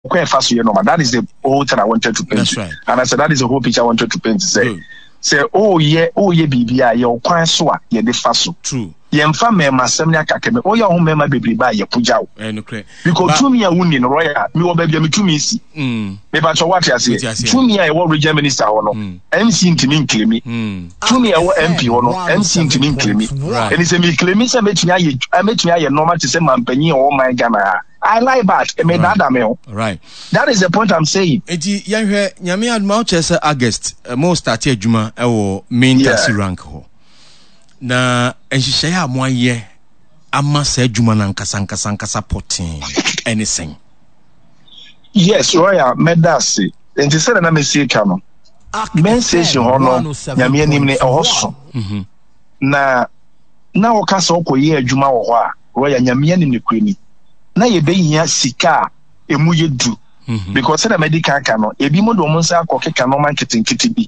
Kwan ɛfa so yɛ normal. That is the whole thing I wanted to paint. That's right. And I said that is the whole picture I wanted to paint. Sɛ sɛ ɔyɛ ɔyɛ biribi a yɛ ɔkwan so a yɛde fa so. True. Yɛmfa mmarima asɛm ne akakɛmɛ. Ɔyɛ ɔho mmarima bebrebe a yɛpogya wo. Ɛnokorɛ. Because tumi a wonni no royal mewɔ baabi a me tumi si. Mepakyɛ wate aseɛ. Tumi a ɛwɔ region minister hɔ no MC ntumi nclaimi. Tumi a ɛwɔ MP hɔ no MC ntumi nclaimi. Ɛni sɛ me claimi sɛ mɛtumi ayɛ mɛtumi ayɛ nneɛma te sɛ mampanyin a ɔwɔ man Ghana ha. I lie bad. Me dada me ho. Right. That is the point I'm saying. Eti yɛnhwɛ Nyame adom a wokyerɛ sɛ August mo start adwuma ɛwɔ main taxi rank hɔ. Na nhyehyɛe a moayɛ ama saa adwuma no ankasa ankasa ankasa pɔtee ɛne sɛn? Yes, Royal, mɛda ase. Nti sɛdeɛ na mesie ka no, main station hɔ no, Nyame anim ne ɛhɔ so. Na na wɔka sɛ wokɔyɛ adwuma wɔ hɔ a, Royal, Nyame anim nokorɛ ni, na yɛbɛhia sika a ɛmu yɛ du. Because sɛdeɛ madi kan aka no, ebinom de wɔn nsa akɔkeka nneɛma nketenkete bi.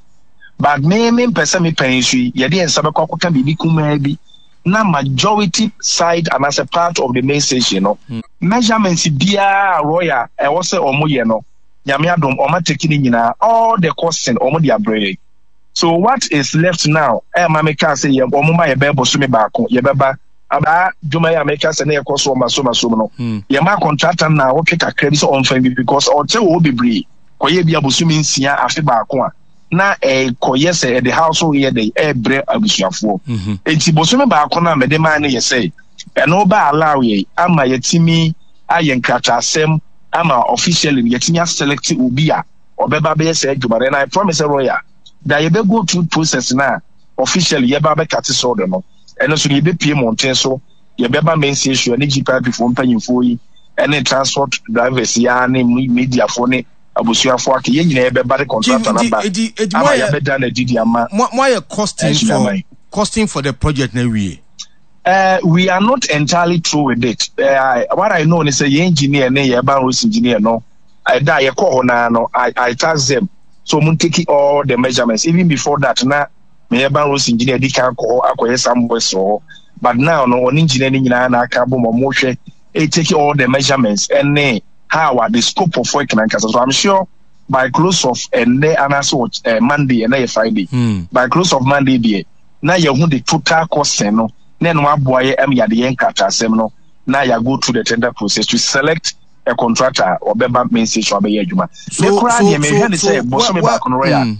But me mempɛ sɛ me pɛn so yi, yɛde yɛn nsa bɛkɔ akɔka biribi kumaa bi na majority side anaasɛ part of the main station no, measurements biara a Royal ɛwɔ sɛ wɔn yɛ no, Nyame adom wɔn atake ne nyinaa, all the costing wɔn de abrɛ yɛn. So what is left now ɛma me kaa sɛ yɛ wɔn ma yɛbɛyɛ bosome baako yɛbɛba abaa dwuma yi a meka sɛ na yɛkɔ so ɔma so ma so no, yɛma contractor no na ɔtwe kakra bi sɛ ɔmfa bi because ɔkyɛ wɔ hɔ bebree kɔyɛ bi abosome 6 afe baako a na ɛkɔyɛ sɛ ɛde haw so yɛ dɛ ɛbrɛ abusuafoɔ. Enti bosome baako no a mede maa no yɛ sɛ ɛno ba allow yɛ ama yɛtumi ayɛ nkrataasɛm ama officially yɛtumi aselect obi a ɔbɛba bɛyɛ saa adwuma no. And I promise sɛ Royal da yɛbɛ go through process no a officially yɛba bɛkate sɔɔdo no, ɛno nso no yɛbɛpie mmɔnten so, yɛbɛba main station ne GPIP foɔ mpanyinfoɔ yi ɛne transport drivers yi ara ne mediafoɔ ne abusuafoɔ aka yɛn nyinaa yɛbɛba de contractor no aba ama yɛabɛda no adi de ama moayɛ costing for costing for the project na wie. We are not entirely through with it. What I know is sɛ yɛn engineer ne yɛn urban roads engineer no ɛda a yɛkɔɔ hɔ naa no I tasked them so wɔn take all the measurements. Even before that na me urban roads engineer di kan kɔ hɔ akɔyɛ some works wɔ hɔ, but now no ɔne engineer no nyinaa na aka abom wɔn hwɛ take all the measurements ɛne how a the scope of work na nkasa. So I'm sure by close of ɛnɛ anaasɛ wɔ Monday, ɛnɛ yɛ Friday, by close of Monday deɛ na yɛhu the total costing no na ɛno aboa yɛ ɛm yɛade yɛn nkrataasɛm no na yɛ go through the tender process to select a contractor a ɔbɛba main station abɛyɛ adwuma. Me koraa deɛ mehwɛ ne sɛ bosome baako no royal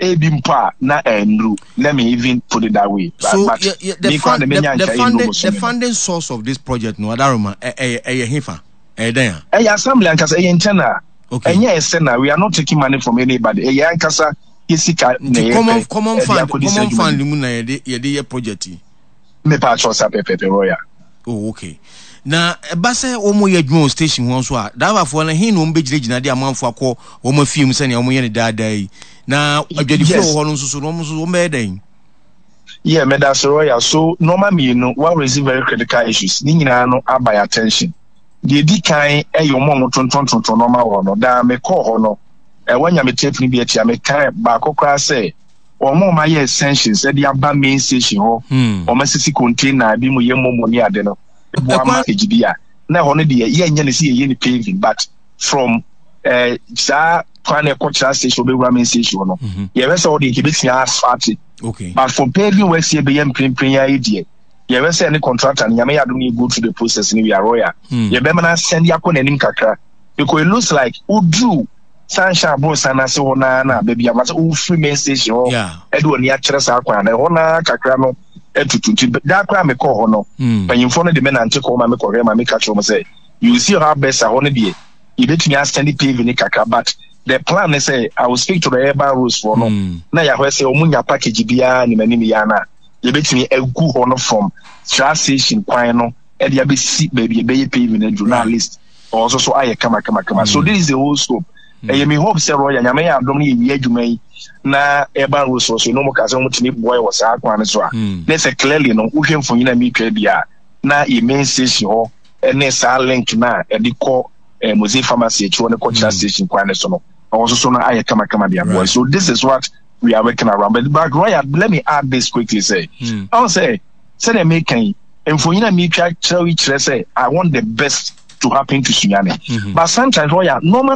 ebi mpo a na ɛnuru, let me even put it that way. So but yeah, yeah, the, me koraa fund, de the, menya the nka ɛnuru funding the bosome no. funding source of this project no adaroma ɛyɛ ɛyɛ hefa ɛyɛ dɛn a? Ɛyɛ assembly ankasa, ɛyɛ internal. Okay. Ɛnyɛ external. We are not taking money from anybody. Ɛyɛ ankasa yɛ sika na Nti yɛpɛ common common ɛde fund akɔdi saa common adwuma fund yi. mu na yɛde yɛde yɛ project yi. Mepa akyɛw sa pɛpɛpɛ Royal. Oh, okay. Na ɛba sɛ wɔn yɛ adwuma wɔ station hɔ nso a, driverfoɔ no he na wɔn bɛgyinagyina de amanfoɔ akɔ wɔn afie mu sɛnea wɔn yɛ no daadaa yi? Na adwadifoɔ wɔ hɔ no nso so no, wɔn nso wɔn bɛyɛ dɛn? Yeah, medase Royal. So nneɛma mmienu, wa raise very critical issues. Ne nyinaa no aba yɛ attention. Deɛ edi kan yɛ wɔn a wɔtontɔntontɔn nneɛma wɔ hɔ no. Daa mekɔɔ hɔ no, wɔanya me tape no bi atia. Mekae baako koraa sɛ wɔn a wɔayɛ extensions de aba main station hɔ, wɔn asisi container bi mu yɛ momo ne ade no, boa ma package bi a na ɛhɔ no deɛ yɛnyɛ no sɛ yɛyɛ no paving, but from saa kwan na ɛkɔ kyerɛ station ɔbɛwura main station hɔ no, yɛhwɛ sɛ ɔde nka ebɛtumi asfalt. But for paving works yɛ bɛyɛ mprempren yi ayɛ deɛ yɛhwɛ sɛ ne contractor no, Nyame yɛ adom no yɛ go through the process no, we are royal, yɛbɛma no asɛnde akɔ n'anim kakra because it looks like woduru sunshine aborosan no ase hɔ naa na baabi ama sɛ wofiri main station hɔ ɛde w'ani akyerɛ saa kwan no ɛhɔ naa kakra no atutu. Nti daa koraa mekɔɔ hɔ no, mpanyimfoɔ no de me nante kɔ ma mekɔhwɛ ma meka kyerɛ wɔn sɛ you see how best a hɔ no deɛ yɛbɛtumi asɛnde paving no kakra, but the plan ne sɛ I will speak to the urban roads foɔ no na yɛahwɛ sɛ wɔn nya package biara nim anim yɛ ana yɛbɛtumi agu hɔ no from tra station kwan no ɛde abɛsi baabi ɛbɛyɛ paving no aduru na at least ɔwɔ nso so ayɛ kama kama kama. So this is the whole scope. Ɛyɛ me hope sɛ Royal, Nyame yɛ adom no yɛwie adwuma yi na urban roads wɔ so no mu ka sɛ wɔtumi boa wɔ saa kwan no so a, na sɛ clearly no wohwɛ mfonyin a metwa bi a na yɛ main station hɔ ne saa link no a ɛde kɔ Mose Pharmacy akyi hɔ ne kɔ Kyerɛ station kwan no so no ɔwɔ nso so no ayɛ kamakama de aboa. So this is what we are working around. But Royal, let me add this quickly sɛ ɔn sɛ sɛdeɛ meka yi mfonyin a metwa kyerɛ yi kyerɛ sɛ I want the best. to happen to Sunyani. But sometimes, oh yeah, normally.